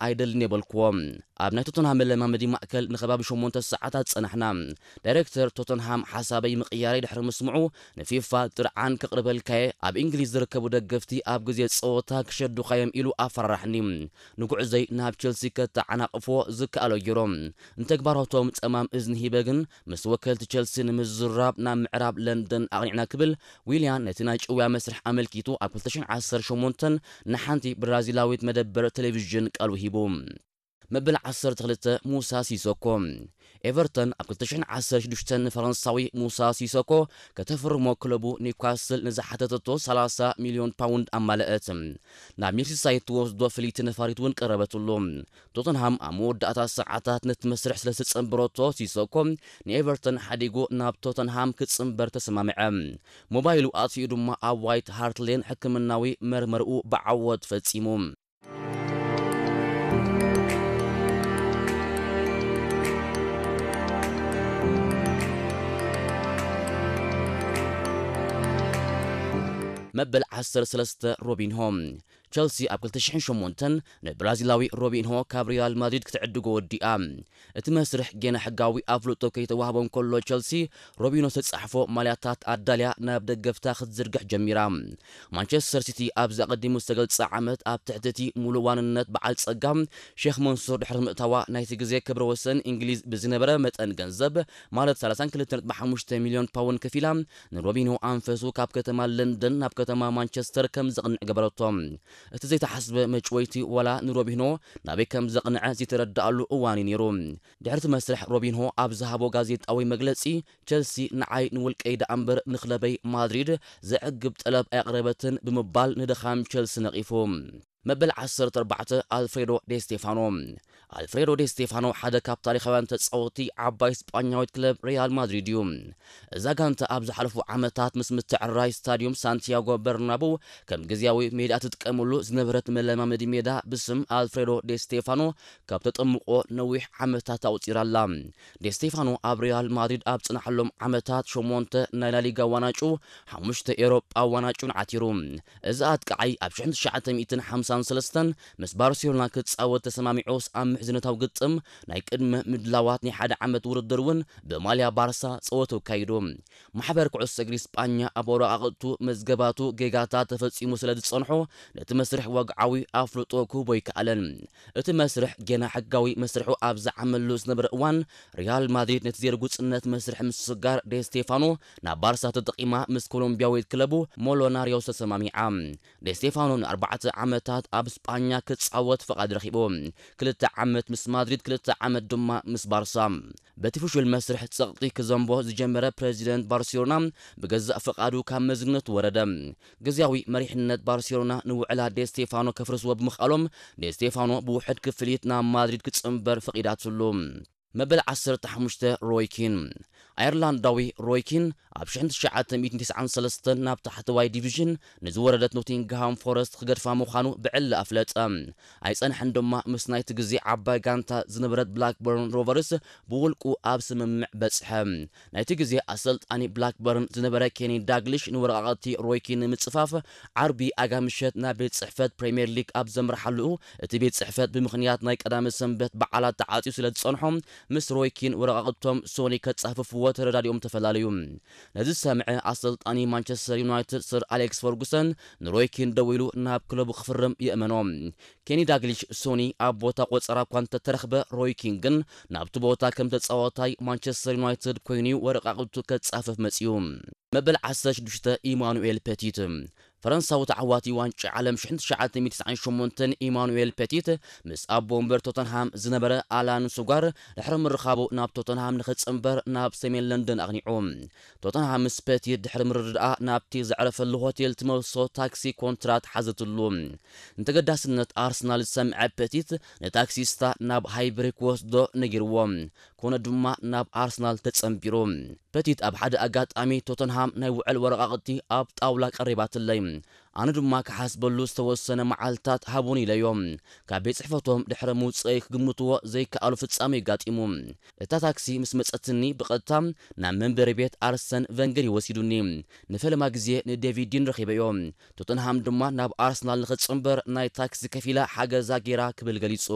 ኣይደልን የበልክዎ። ኣብ ናይ ቶተንሃም መለማመዲ ማእከል ንከባቢ ሸሞንተ ሰዓታት ጸናሕና። ዳይሬክተር ቶተንሃም ሓሳበይ ምቕያረይ ድሕሪ ምስምዑ፣ ንፊፋ ጥርዓን ከቕርበልካየ፣ ኣብ እንግሊዝ ዝርከቡ ደገፍቲ ኣብ ግዜ ጸወታ ክሸዱኻዮም ኢሉ ኣፈራራሕኒ። ንጉዕዘይ ናብ ቸልሲ ከተዓናቕፎ ዝከኣሎ ገይሮም። ንተግባራቶም ጸማም እዝኒ ሂበ ግን ምስ ወከልቲ ቸልሲ ንምዝራብ ናብ ምዕራብ ለንደን ኣቕኒዕና ክብል ዊልያን ነቲ ናይ ጭውያ መስርሕ ኣመልኪቱ ኣብ ክልተ ሽሕን ዓሰርተ ሸሞንተን ንሓንቲ ብራዚላዊት መደበር ቴሌቪዥን ቃሉ ሂቡ። መበል ዓሰርተ ክልተ ሙሳ ሲሶኮ። ኤቨርተን ኣብ ክልተ ሽሕን ዓሰርተ ሽዱሽተን ንፈረንሳዊ ሙሳ ሲሶኮ ከተፍርሞ ክለቡ ኒውካስል ንዝሓተተቶ ሰላሳ ሚልዮን ፓውንድ ኣማለአት። ናብ ሜርሲሳይድ ትወስዶ ፍልይቲ ነፋሪት እውን ቀረበትሉ። ቶተንሃም ኣብ መወዳእታ ሰዓታት ነቲ መስርሕ ስለ ዝተጸንበረቶ ሲሶኮ ንኤቨርተን ሓዲጉ ናብ ቶተንሃም ክጽንበር ተሰማምዐ። ሞባይሉ ኣጥፊኡ ድማ ኣብ ዋይት ሃርት ሌን ሕክምናዊ መርመርኡ ብዓወት ፈጺሙ። መበል ዓሰርተ ሰለስተ ሮቢንሆ። ቸልሲ ኣብ ክልተ ሽሕን ሸሞንተን ንብራዚላዊ ሮቢንሆ ካብ ሪያል ማድሪድ ክትዕድጎ ወዲኣ። እቲ መስርሕ ጌና ሕጋዊ ኣፍልጦ ከይተዋህቦ እንከሎ፣ ቸልሲ ሮቢንሆ ዝተጻሕፎ ማልያታት ኣዳልያ ናብ ደገፍታ ክትዝርግሕ ጀሚራ። ማንቸስተር ሲቲ ኣብዚ ኣቐዲሙ ዝተገልጸ ዓመት ኣብ ትሕቲ እቲ ሙሉእ ዋንነት በዓል ጸጋ ሼኽ መንሱር ድሕሪ ምእታዋ፣ ናይቲ ግዜ ክብረ ወሰን እንግሊዝ ብዝነበረ መጠን ገንዘብ፣ ማለት ሰላሳን ክልተ ነጥቢ ሓሙሽተ ሚልዮን ፓውንድ ከፊላ፣ ንሮቢንሆ ኣንፈሱ ካብ ከተማ ለንደን ናብ ከተማ ማንቸስተር ከም ዘቕንዕ ገበረቶ። እቲ ዘይተሓስበ መጭወይቲ ዋላ ንሮቢንሆ ናበይ ከም ዘቕንዐ ዝተረድኣሉ እዋን እዩ ነይሩ። ድሕሪ እቲ መስርሕ ሮቢንሆ ኣብ ዝሃቦ ጋዜጣዊ መግለጺ፣ ቸልሲ ንዓይ ንውልቀይ ደኣ እምበር ንክለበይ ማድሪድ ዘዕግብ ጠለብ ኣየቕረበትን ብምባል ንድኻም ቸልሲ ነቒፉ። መበል ዓሰርተ ኣርባዕተ ኣልፍሬዶ ዴ ስቴፋኖ። ኣልፍሬዶ ዴ ስቴፋኖ ሓደ ካብ ታሪኻውያን ተጻወትቲ ዓባይ ስጳኛዊት ክለብ ሪያል ማድሪድ እዩ። እዛ ጋንታ ኣብ ዝሓለፉ ዓመታት ምስ ምትዕርራይ ስታዲዩም ሳንቲያጎ በርናቡ ከም ግዝያዊ ሜዳ ትጥቀመሉ ዝነበረት መለማመዲ ሜዳ ብስም ኣልፍሬዶ ዴ ስቴፋኖ ካብ ተጠምቆ ነዊሕ ዓመታት ኣቑጺራ ኣላ። ዴ ስቴፋኖ ኣብ ሪያል ማድሪድ ኣብ ጽናሓሎም ዓመታት ሸሞንተ ናይ ላሊጋ ዋናጩ፣ ሓሙሽተ ኤውሮጳ ዋናጩን ዓቲሩ። እዚ ኣጥቃዓይ ኣብ ሽሕን ትሽዓተ ሚእትን ሓምሳን ሰለስተን ምስ ባርሴሎና ክጻወት ተሰማሚዑስ ኣብ ምሕዝነታዊ ግጥም ናይ ቅድመ ምድላዋት ናይ ሓደ ዓመት ውድድር እውን ብማልያ ባርሳ ጸወቱ ኣካይዱ። ማሕበር ኩዕሶ እግሪ ስጳኛ ኣብ ወረቓቕቱ፣ መዝገባቱ ጌጋታት ተፈጺሙ ስለ ዝጸንሖ ነቲ መስርሕ ወግዓዊ ኣፍልጦ ክህቦ ኣይከኣለን። እቲ መስርሕ ጌና ሕጋዊ መስርሑ ኣብ ዝዓመሉ ዝነበረ እዋን፣ ሪያል ማድሪድ ነቲ ዘይርጉጽነት መስርሕ ምስጋር ዴ ስቴፋኖ ናብ ባርሳ ተጠቒማ ምስ ኮሎምቢያዊት ክለቡ ሞሎናርዮስ ተሰማሚዓ። ዴ ስቴፋኖ ንኣርባዕተ ዓመታት ኣብ ስጳኛ ክጻወት ፍቓድ ረኺቡ። ክልተ ዓመት ምስ ማድሪድ፣ ክልተ ዓመት ድማ ምስ ባርሳ። በቲ ፍሹል መስርሕ ጸቕጢ ክዘንቦ ዝጀመረ ፕረዚደንት ባርሴሎና ብገዛእ ፍቓዱ ካብ መዝነቱ ወረደ። ግዝያዊ መሪሕነት ባርሴሎና ንውዕላት ዴ ስቴፋኖ ከፍርስዎ ብምኽኣሎም፣ ዴ ስቴፋኖ ብውሑድ ክፍሊት ናብ ማድሪድ ክጽንበር ፈቒዳትሉ። መበል ዓሰርተ ሓሙሽተ ሮይ ኪን። ኣየርላንዳዊ ሮይ ኪን ኣብ ሽሕን ትሽዓተ ሚእትን ተስዓን ሰለስተን ናብ ታሕተዋይ ዲቪዥን ንዝወረደት ኖቲንግሃም ፎረስት ክገድፋ ምዃኑ ብዕሊ ኣፍለጠ። ኣይጸንሐን ድማ ምስ ናይቲ ግዜ ዓባይ ጋንታ ዝነበረት ብላክበርን ሮቨርስ ብውልቁ ኣብ ስምምዕ በጽሐ። ናይቲ ግዜ ኣሰልጣኒ ብላክበርን ዝነበረ ኬኒ ዳግሊሽ ንወረቓቕቲ ሮይ ኪን ንምጽፋፍ ዓርቢ ኣጋ ምሸት ናብ ቤት ጽሕፈት ፕሪምየር ሊግ ኣብ ዘምርሓሉ፣ እቲ ቤት ጽሕፈት ብምኽንያት ናይ ቀዳመ ሰንበት በዓላት ተዓጽዩ ስለ ዝጸንሖ፣ ምስ ሮይ ኪን ወረቓቕቶም ሶኒ ከጻፍፍዎ ተረዳዲኦም ተፈላለዩ። ነዚ ዝሰምዐ ኣሰልጣኒ ማንቸስተር ዩናይትድ ሰር ኣሌክስ ፈርጉሰን ንሮይ ኪን ደዊሉ ናብ ክለቡ ክፍርም የእመኖ። ኬኒ ዳግሊሽ ሶኒ ኣብ ቦታ ቆጸራ እኳ እንተተረኽበ፣ ሮይ ኪን ግን ናብቲ ቦታ ከም ተጻዋታይ ማንቸስተር ዩናይትድ ኮይኑ ወረቓቕቱ ከጻፍፍ መጺኡ። መበል ዓሰርተ ሽዱሽተ ኢማኑኤል ፐቲት። ፈረንሳዊ ተዓዋቲ ዋንጫ ዓለም ሽሕን ትሽዓተ ሚእትን ተስዓን ሸሞንተን ኢማኑኤል ፐቲት ምስ ኣቦ ወንበር ቶተንሃም ዝነበረ ኣላን ሱጋር ድሕሪ ምርኻቡ ናብ ቶተንሃም ንኽጽንበር ናብ ሰሜን ለንደን ኣቕኒዑ። ቶተንሃም ምስ ፐቲት ድሕሪ ምርድኣ ናብቲ ዘዕረፈሉ ሆቴል ትመልሶ ታክሲ ኮንትራት ሓዘትሉ። ንተገዳስነት ኣርሰናል ዝሰምዐ ፐቲት ንታክሲስታ ናብ ሃይብሪ ክወስዶ ነጊርዎ። ኮነ ድማ ናብ ኣርሰናል ተጸንቢሩ። ፐቲት ኣብ ሓደ ኣጋጣሚ ቶተንሃም ናይ ውዕል ወረቓቕቲ ኣብ ጣውላ ቀሪባትለይ። ኣነ ድማ ክሓስበሉ ዝተወሰነ መዓልታት ሃቡኒ ኢለዮ። ካብ ቤት ጽሕፈቶም ድሕሪ ምውጽአይ ክግምትዎ ዘይከኣሉ ፍጻመ ኣጋጢሙ። እታ ታክሲ ምስ መጸትኒ ብቐጥታ ናብ መንበሪ ቤት ኣርሰን ቨንገር እዩ ወሲዱኒ። ንፈለማ ግዜ ንዴቪድ ዲን ረኺበዮ። ቶተንሃም ድማ ናብ ኣርሰናል ንኽጽንበር ናይ ታክሲ ከፊላ ሓገዛ ጌራ ክብል ገሊጹ።